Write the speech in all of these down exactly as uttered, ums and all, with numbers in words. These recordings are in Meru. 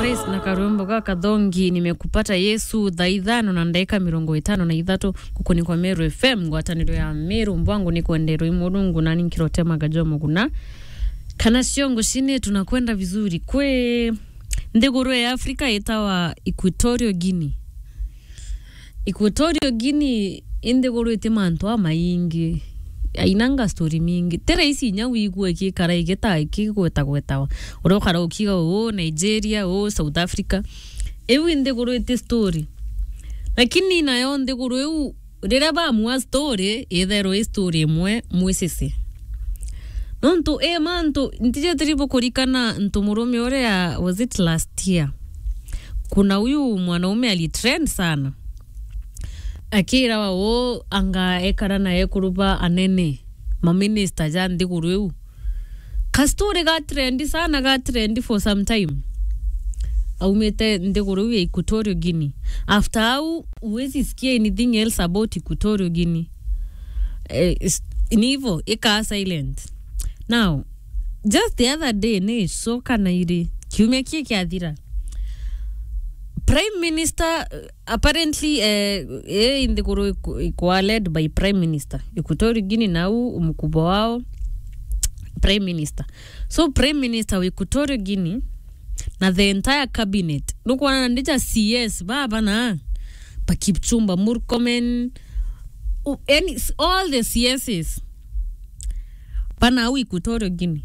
Praise na karwimbo ga kathongi, nimekupata Yesu, thaa ithano na ndagika mirongo itano na ithatu, guku ni kwa Meru F M, ngwataniro ya Meru, mbwangu ni kwenderwa i Murungu, nani nkirotemaga jo muguna. Kana ciongo cini tunakwenda vizuri. Kwi nthiguru ya Afrika itawa Equatorial Guinea. Equatorial Guinea i nthiguru iti mantu amaingi, ainanga story mingi. Ti raisi inya wigue ikikara igita-, ikigwetagwetawa. Uria ukara ukiuga uu Nigeria, uu South Africa. Iu i nthiguru iti story. Lakini nayo nthiguru iu, riria bamua story, itherwe i story imwe mwisisi. Nontu i mantu, ntijitiri bukurikana ntu murume uria, was it last year? Kuna huyu mwanaume alitrend sana. Akirawa uu anga ekara na ekuru ba anene, maminista ja nthiguru iu. Ka story ga trend sana, ga trend for some time. Aumite nthiguru iu ya Equatorial Guinea. After au, huwezi sikia anything else about Equatorial Guinea. Eh, is-, ni hivo, ikaa silent. Now, just the other day, ni icoka na iri, kiumia kii kiathira, Prime Minister, eh, apparently, eh, eh, nthiguru iku-, ikwa led by Prime Minister. Equatorial Guinea nau mkubwa wao, Prime Minister. So, Prime Minister wa Equatorial Guinea na the entire cabinet, nukwona na ndija C S, baba na ba Kipchumba Murkomen, u-, any, s-, all the C Ss, bana au Equatorial Guinea,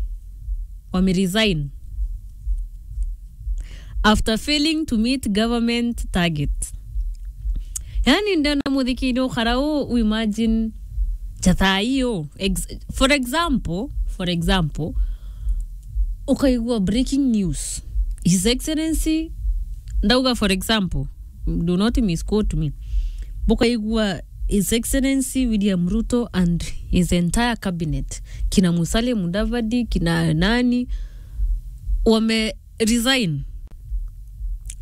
wame resign after failing to meet government target. Yani, ndenda muthikiri ukara u, u imagine ja thaa ii u. Ex-, for example, for example, ukaigua breaking news. His Excellency, ndauga for example, do not misquote me. Bukaigua His Excellency William Ruto and his entire cabinet, kina Musalia Mudavadi, kina nani, wame resign.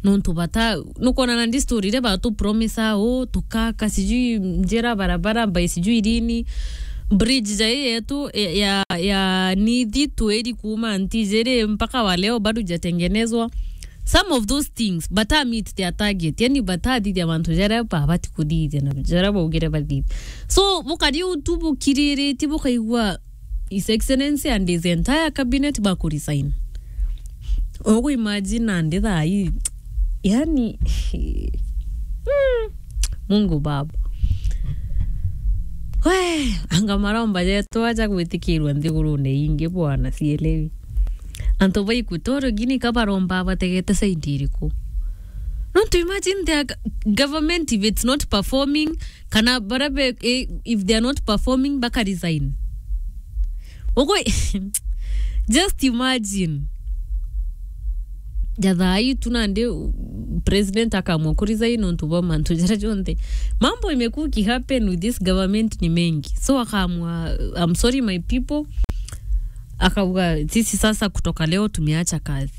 Nontu bata, nukwona na ndi story iria batu promise uu, tukaka sijui njira, barabara, by sijui lini, bridge ja ii yetu ya, ya, ya Nithi tweri kuuma Ntijiri mpaka wa leo bado ijatengenezwa. Some of those things, bata meet their target, yani batathithia mantu jaria babati kuthithia na jaria baugire bathithia. So, bukari u tu bukiriritie, bukaigua His Excellency and his entire cabinet baku resign. Ugu imagine nandi thaa ii, yani, hmm, Mungu Baba. We, anga maromba jetu aja gwitikirwa nthigurune ingi, bwana, sielewi. Antu ba Equatorial Guinea ka baromba bategete side iriku? Nontu imagine their g-, government, if it's not performing, kana baria be, eh, if they are not performing, baka resign. Ugu, just imagine. Ja thaa ii tu nandi, uh, president akaamua ku resign nontu bwa mantu jaria jonthe. Mambo imekuwa ikihappen with this government ni mengi. So akaamua, "I'm sorry my people." Akauga, "Sisi sasa kutoka leo tumeacha kazi."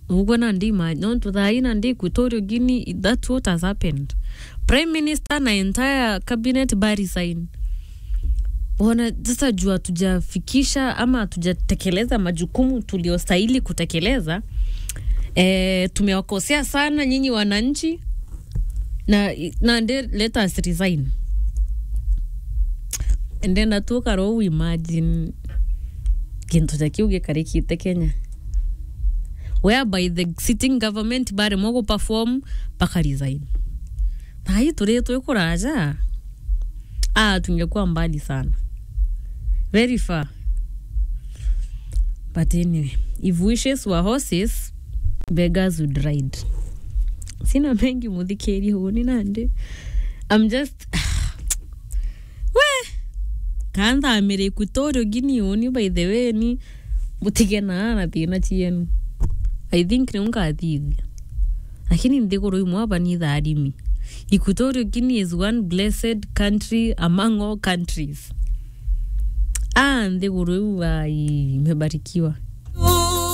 Uguo nandi ima-, nontu thaa ii nandi Equatorial Guinea, that's what has happened. Prime Minister na entire cabinet ba resign. Bona, sasa juu hatujafikisha ama hatujatekeleza majukumu tuliostahili kutekeleza, eh, tumewakosea sana nyinyi wananchi, na, na nde, let us resign. And then atuka ro, imagine kintu ja kiu gikarikite Kenya, whereby the sitting government baremwa gu perform, baka resign. Thaa ii turi twikuraja, ah, tungekuwa mbali sana. Very far. But anyway, if wishes were horses, beggars would ride. Sina mengi, muthikirie, uni nandi. I'm just, we, kanthamire Equatorial Guinea uni, by the way, ni mutige na, na thina cienu. I think niu ngathithia. Lakini nthiguru imwe aba ni tharimi. Equatorial Guinea is one blessed country among all countries. Ah, nthiguru iu, ai, imebarikiwa.